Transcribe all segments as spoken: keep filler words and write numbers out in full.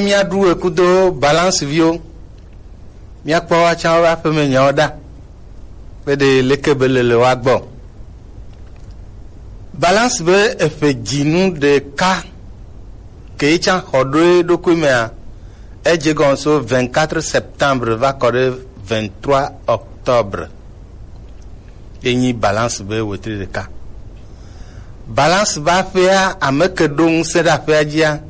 Míaɖu ekudo balance viwo. Míakpɔ woatsã woƒe aƒeme nyawo ɖa. Be ɖe leke be le le woa gbɔ. Balance be eƒe dzinu ɖeka ke yi tsã xɔ ɖo eɖokui mea, edze gɔn so vingt-quatre septembre va kɔ ɖe vingt-trois octobre. Ye nyi balance be wetri ɖeka. Balance be aƒea, ame ke ɖo ŋusẽ ɖe aƒea dzia,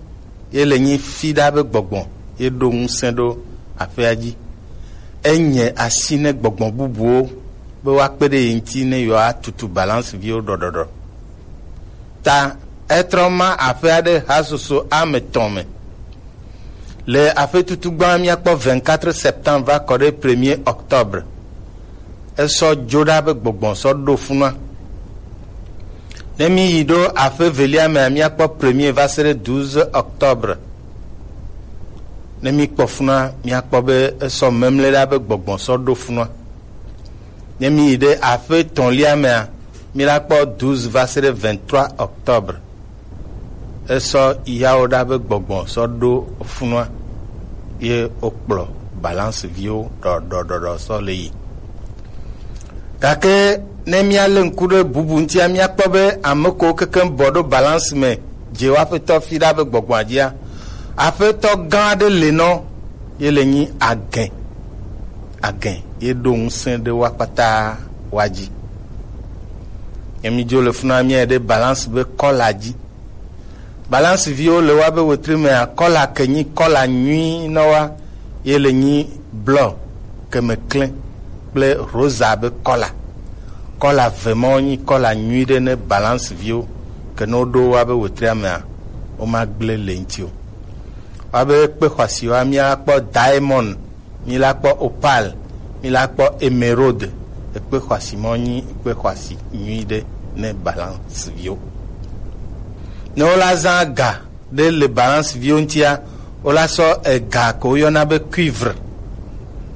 ye le nyi Fiɖa be gbɔgbɔ ye ɖo ŋusẽ ɖo aƒea dzi. Enye asi ne gbɔgbɔ bubuwo be woakpe ɖe ye ŋuti ne yewoatutu balance viwo ɖɔɖɔɖɔ. Ta etrɔ ma aƒea ɖe hasusu ame etɔ̃ me. Le aƒetutu gbã míakpɔ vingt-quatre septembre va kɔ ɖe premier octobre. Esɔ dzo ɖa be gbɔgbɔ sɔ ɖo funua. Ne mí yi ɖo aƒe evelia mea, míakpɔ premier va se ɖe douze octobre. Ne mí kpɔ funua, míakpɔ be esɔ memle ɖa be gbɔgbɔ sɔ ɖo funua. Ne mí yi ɖe aƒe etɔ̃lia mea, mí la kpɔ douze va se ɖe vingt-trois octobre. Esɔ yawo ɖa be gbɔgbɔ sɔ ɖo funua, ye wokplɔ balance viwo ɖɔɖɔɖɔɖɔ sɔ le yi. Gake ne míalé ŋku ɖe bubu ŋutia, míakpɔ be ame kewo kekeŋ bɔ ɖo balance me dze wo aƒetɔ Fiɖa be gbɔgbɔa dzia, aƒetɔ gã aɖe le nɔ, ye le nyi agẽ. Agẽ ye ɖo ŋusẽ ɖe woa kpata woa dzi. Ye mí dzo le funua míayi ɖe balance be kɔla dzi. Balance viwo le woa be wetri mea, kɔla ke nyi kɔla nyui nɔ wa, ye le nyi blɔ, ke me klẽ kple rosa be kɔla. Kɔla ve mawo nyi kɔla nyui ɖe ne balance viwo, ke ne woɖo woa be wetria mea, woma gblẽ le ŋuti o. Woa be kpe xɔasiwoa, míakpɔ diamond, mí la kpɔ opal, mí la kpɔ émeraude. Ekpe xɔasi mɔ nyi ekpe xɔasi nyui ɖe ne balance viwo. Ne wola zã ga ɖe le balance viwo ŋutia, wola sɔ ega ko woyɔna be cuivre,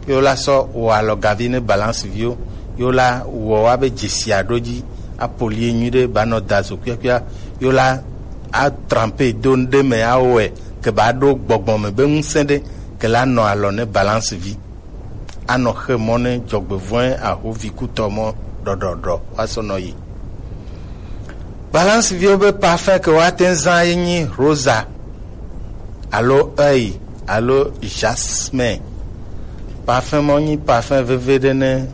ye wola sɔ wɔ alɔgavi ne balance viwo, ye wola wɔ woa be dzesia ɖo dzi, apolie nyui ɖe, ba nɔ da zo kuiakui, ye wola atrempe do nu ɖe me, awɔe ke ba ɖo gbɔgbɔ me be ŋusẽ ɖe ke la nɔ alɔ ne balance vi. Anɔ xe mɔ ne dzɔgbevɔ̃e ahovi kutɔ mɔ ɖɔɖɔɖɔ woasɔ nɔ yi. Balance viwo be parfum ke woate ŋu zã ye nyi rosa alo œil alo jasmin. Parfum mɔ nyi parfum veve ɖe ne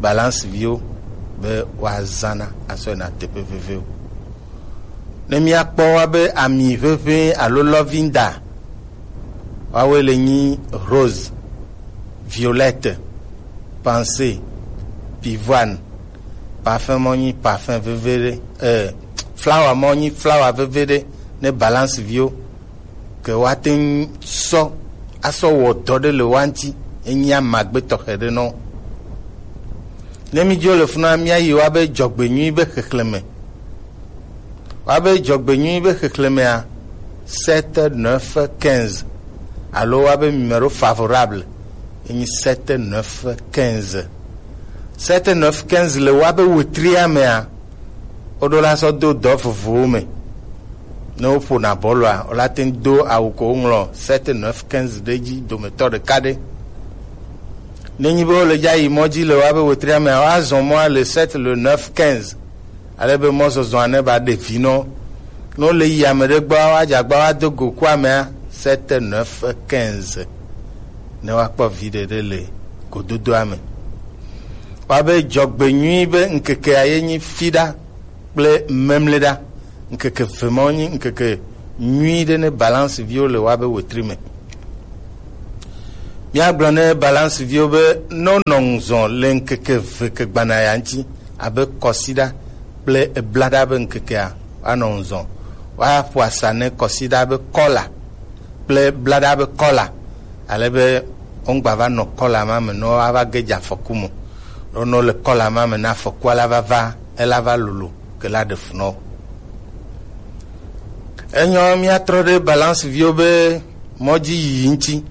balance viwo be woazãna asɔ yina teƒe vevewo. Ne míakpɔ woa be ami ʋeʋẽ alo lɔvinda, woawoe le nyi rose, violette, pensée, pivoine. Parfum mɔ nyi parfum veve ɖe, eh, flower mɔ nyi flower veve ɖe ne balance viwo ke woate ŋu sɔ asɔ wɔ dɔ ɖe le woa ŋuti, enyi amagbe tɔxɛ ɖe nɔ. Ne mídzo le funua, míayi woa be dzɔgbenyui be xexlẽme. Woa be dzɔgbenyui be xexlẽmea, sept, neuf, quinze, alo woa be numéro favorable enyi sept, neuf, quinze. Sept, neuf, quinze le woa be wetria mea, woɖo la sɔ do dɔ vovovowo me. Ne woƒona bɔlua, wola te ŋu do awu ko woŋlɔ sept, neuf, quinze ɖe edzi dometɔ ɖeka ɖe. Nenyi be wole dza yi mɔ dzi le woabe wetria mea, woazɔ mɔa le sept, le neuf, quinze. Ale be mɔzɔzɔa ne ba ɖe vi nɔ. Ne wole yi ame ɖe gbɔ, woadze agba woado go ku amea sept, neuf, quinze. Ne woakpɔ viɖe ɖe le gododoa me. Woabe dzɔgbenyui be ŋkekea ye nyi Fiɖa kple Memleɖa. Ŋkeke eve mawo nyi ŋkeke nyui ɖe ne balance viwo le woabe wetri me. Míagblɔ ne balance viwo be ne wonɔ ŋuzɔ le ŋkeke eve ke gbana ya ŋuti, abe kɔsiɖa kple eblaɖa be ŋkekea, woanɔ ŋuzɔ. Woaƒo asa ne kɔsiɖa be kɔla kple blaɖa be kɔla, ale be woŋgba va nɔ kɔla ma me ne woava ge dze afɔku me. Ne wole kɔla ma me ne afɔkua la va va, ela va lolo ke la ɖe fu na wo. Enyɔ míatrɔ ɖe balance viwo be mɔdzi yiyi ŋuti.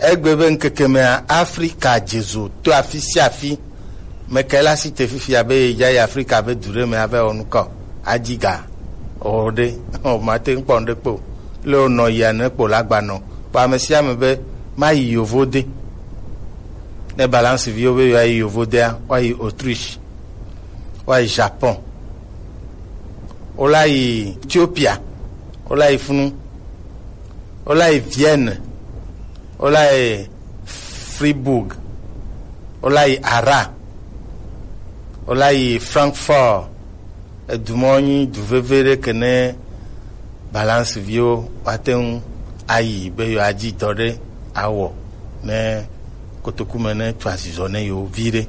Egbe be ŋkeke mea, Afrika dze zo to afi sia afi. Meke la si te fifia be yedza yi Afrika be du ɖe me ava wɔ nukɔ, adzi ga o ɖe, o mate ŋu kpɔ ŋɖe kpɔ. Le wonɔ yia ne kpɔ la gba nɔ Kpɔ ame sia ame be mayi yovo de. Ne balance viwo be yewoayi yovo dea, woayi Autriche, woayi Japon, wolayi Ethiopia, wolayi funu, wolayi Vienne, wolayi Fribourg, wolayi Ara, wolayi Francfort. Edu mɔ nyi du veve ɖe ke ne balance viwo woate ŋu ayi be yewoadzi dɔ ɖe awɔ ne kotoku me ne tu azizɔ ne yewo vi ɖe.